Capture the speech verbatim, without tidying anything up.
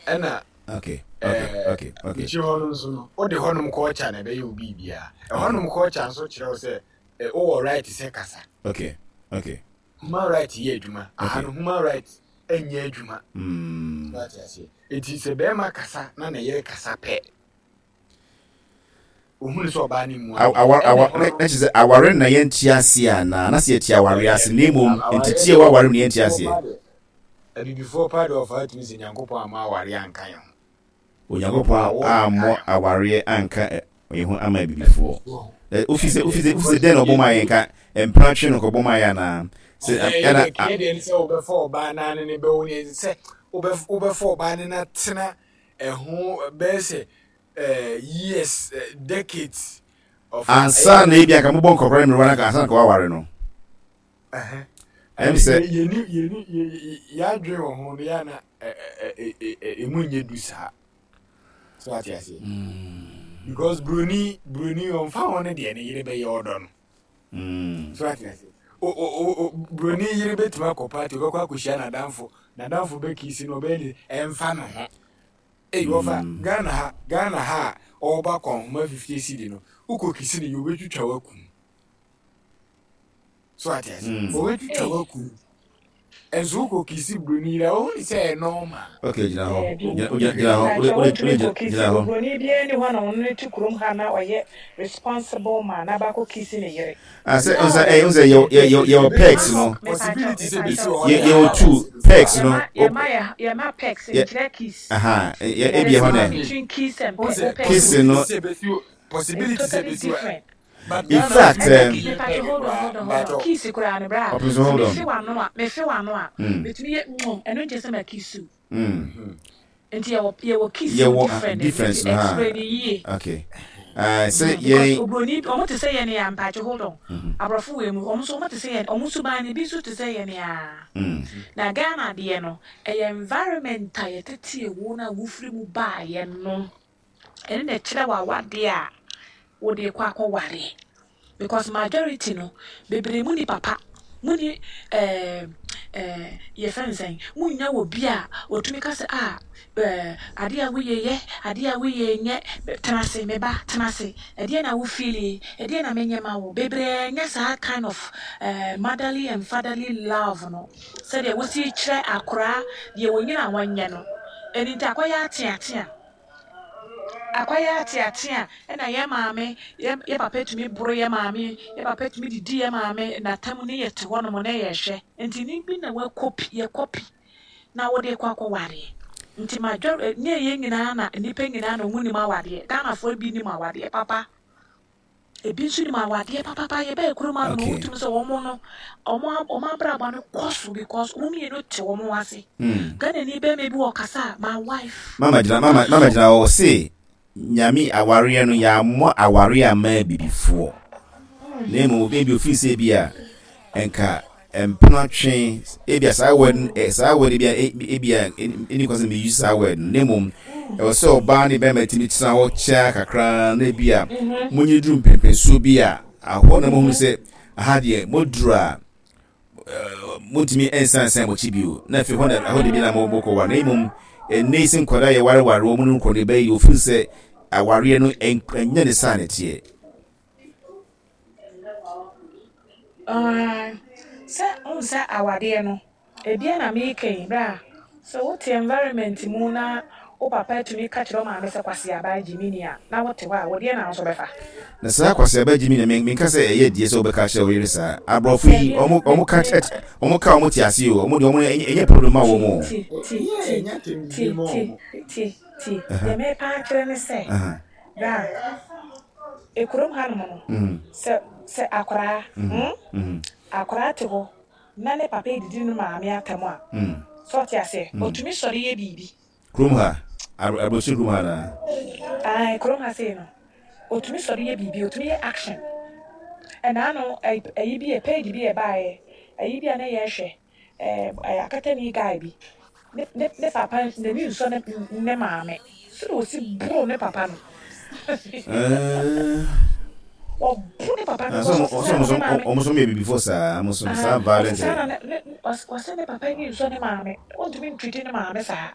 Ɛna okay okay okay okay akyire hɔ no nso no, wode hɔnom culture na ɛbɛyɛ wo biribiara. Ɛhɔnom culture nso kyerɛ wo sɛ eh, wowɔ right sɛ kasa. okay okay Human right yɛ adwuma. Aha no, human right nyɛ adwuma. Mm. Wate aseɛ? Eti sɛ bɛrima kasa na ne yere kasa pɛ, ohunu sɛ ɔbaa ne mu Aw- awa awa na na kyerɛ sɛ aware na yɛnte aseɛ anaa na sɛ yɛte aware ase na mmom nteteɛ wɔ aware mu na yɛnte aseɛ? Abibifoɔ pa deɛ, ɔfa atumi sɛ Nyankopɔn ama aware anka yɛn ho. Onyankopɔn ammɔ awareɛ anka ɛ- yɛn ho ama abibifoɔ. Ɛ, wofi sɛ wofi sɛ wofi sɛ dɛn na ɔbɔ maa yɛn ka mpena twe no kɔbɔ maa yɛn anaa sɛ ɛna yɛ deɛ ne sɛ wobɛfa ɔbaa naa ne ne bɛwo ne sɛ wobɛf- wobɛfa ɔbaa ne na tena ɛho bɛyɛ sɛ eh, years, eh, decades of ansa na ebi anka mobɔ nkɔkora ne mmerewa no anka ansa na nka waware no. Ɛm sɛ yɛni yɛni yɛadwene wɔ ho no yɛ na ɛmu nyɛ du saa so, ate aseɛ? Because broni broni ɔmfa ho ne deɛ ne yere bɛyɛ, ɔdɔ no. Mm. So ate aseɛ? O o o o broni yere bɛtumi akɔ party, ɔbɛkɔ akɔhyia n'adamfo, n'adamfo bɛkiss no, ɔbɛyɛ ne ɛmfa ne ho. Eyi wɔfa Ghana ha, Ghana ha a ɔreba kɔnhoma fifty cedi no, wokɔ kiss ne yɛ, obɛtwitwa wakum so, ate aseɛ? Mm. Obɛtwitwa wakum. Ɛnso wokɔ kiss broni yere a, wohu ne sɛ ɛyɛ normal. Okay, gyina hɔ. Daabi. Gyina gyina gyina hɔ. Wode Mpakyɛ, wode wontumi wode nkɔ kiss gyina hɔ. Oburoni biara ni hɔ na ɔno ne te kurom ha na ɔyɛ responsible man na baakɔ kiss ne yere. Ah, sɛ ɔsɛ ɛyɛ ɔsɛ yɛ yɛ yɛ yɛwɔ perks no. Possibility sɛ bɛsi Mepakyɛ. wɔ hɔ Yɛ deɛ. yɛwɔ two perks no. Yɛma yɛma yɛ yɛma perks Yɛ nkyerɛ kiss. Aha, yɛ There ebi is ɛhɔ no nɛ between kiss and Who pe sɛ wo kiss peck. no. sɛ bɛsi It's possibility sɛ totally bɛsi wɔ different. but In Ghana fact, tumi um, yɛ Mepakyɛ, peg hold on, koraa hold on, hold on. mbatɔ. Kiss koraa no, bra. Ɔpɛ so Sɛ hold mefe on. w'ano a, mefe w'ano a, Mm. metumi yɛ mm ɛno nkyɛ sɛ ma kiss wo. Mm. Nti yɛwɔ yɛwɔ kiss mu Yɛwɔ uh, different, ɛno difference nti no ha. explain yie. Okay. Uh, sɛ Mm, because yɛn oburoni, ɔmo te sɛ yɛn ya. Mpakyɛ, hold on. Mhm. Aborɔfo wɔ mu, ɔmo nso ɔmo te sɛ yɛn, ɔmo suban no bi nso te sɛ yɛn ya. Mm. Na Ghana deɛ no, ɛyɛ environment a yɛtete ewo na wofiri mu baayɛ no, ɛno na ɛkyerɛ wɔ awadeɛ a wode kɔ akɔware, because majority no, bebree mu ni papa mu ni ɛɛ ɛɛ yɛfrɛ no sɛn, mu nya wɔ bi a otumi ka sɛ a ɛɛ adeɛ a woyɛ yɛ, adeɛ a woyɛ nyɛ, tena ase, me ba, tena ase, ɛdeɛ na wo feel, ɛdeɛ na menyɛ ma wo. Bebree nyɛ saa kind of ɛɛ motherly and fatherly love no, sɛdeɛ wosi kyerɛ akoraa deɛ wɔnyina wɔnyɛ no. Ɛni nti akɔyɛ ateatea, akɔyɛ ateatea. Ɛna yɛ maame, yɛ yɛ papa tumi boro yɛ maame, yɛ papa tumi didi yɛ maame n'atam ne yɛ te hɔnom na yɛhwɛ. Nti ne bi na wakɔpi, yɛ kɔpi na wɔde kɔ akɔwareɛ. Nti major ne yɛ nyinaa na nnipa nyinaa na ɔmo nim awadeɛ. Ghanafoɔ bi nim awadeɛ papa, ebi nso nim awadeɛ papapa. Yɛbɛyɛ kurom ano no, Okay. wotumi sɛ wɔn no, wɔn wɔn abrabɔ no kɔ so because wɔn mmienu te wɔn ase. Mm. Ghana ni bɛrima bi wɔ kasa a, my wife. Mama gyina, mama mama gyina hɔ. Se Nyame awareɛ no, yɛammɔ awareɛ ama abibifoɔ na mmom ebi ofiri sɛ bi a nka mpena twe ebi a saa word no- eh, saa word bi a ebi a ɛni kwan sɛ meyi saa word no, na mmom ɛwɔ sɛ ɔbaa ne bɛrima tumi tena hɔ kyɛa kakra na ebi a monyi duru mpɛmpɛnsuo bi a ahɔ na mohunu sɛ aha deɛ moduru a montumi nsansan mo akyi bio, na afei hɔ na ɛhɔ de bi na mo mokɔ wa. Na mmom ɛnɛ yi sɛ nkwadaa yɛ wareware wɔn no nkɔ ne bɛyi ofiri sɛ awareɛ no ɛn- ɛnyɛ ne saa ne teɛ. Ah, sɛ wohu sɛ awadeɛ no ebia na meka yi, bra, sɛ wote environment mu na wo papa tumi ka kyerɛ wo maame sɛ kwasiaba gyimi ni a, na wote hɔ a, wodeɛ na wo nso bɛfa. Na saa kwasiaba gyimi na menka sɛ ɛyɛ die sɛ wobɛka kyerɛ wo yere saa. Aborɔfo yi, ɔmo ɔmo ka kyerɛ, ɔmo ka, ɔmo te ase o. Ɔmo deɛ, ɔmo ɛnyɛ ɛnyɛ problem ma wɔn o. Ti ti ti ti ti ti ti, deɛ mepa akyerɛ ne sɛ, Aha. bra, ekurom hanom no, Mhm. sɛ sɛ akoraa hmm? Mhm. Akoraa te hɔ na ne papa edidi ne maame atam a, Mm. sɛ ɔte aseɛ, otumi sɔre yɛ biribi. Kurom ha, abro- aborɔkyire kurom ha naa? Ae, kurom ha sei no, otumi sɔre yɛ biribi, otumi yɛ action. Ɛna ano ɛyi bi yɛ page bi yɛ baayɛ ɛyi bi a ne yɛhwɛ ɛɛ ɛyɛ akatani guy bi ne ne ne papa n'ani nsɔ ne ne maame sɛdeɛ osi boro ne papa no. Ɛɛ, Ɔbo ne papa no. Na sɛ ɔmo because ɔsɛ ɔmo ɔsesa so ne maame. Ɔmo so yɛ bibifo saa, ɔmo so saa Ah, violent. ɔsesa na ne ne ɔs- ɔsɛ ne papa ani nsɔ ne maame, ɔntumi ntwiti ne maame saa.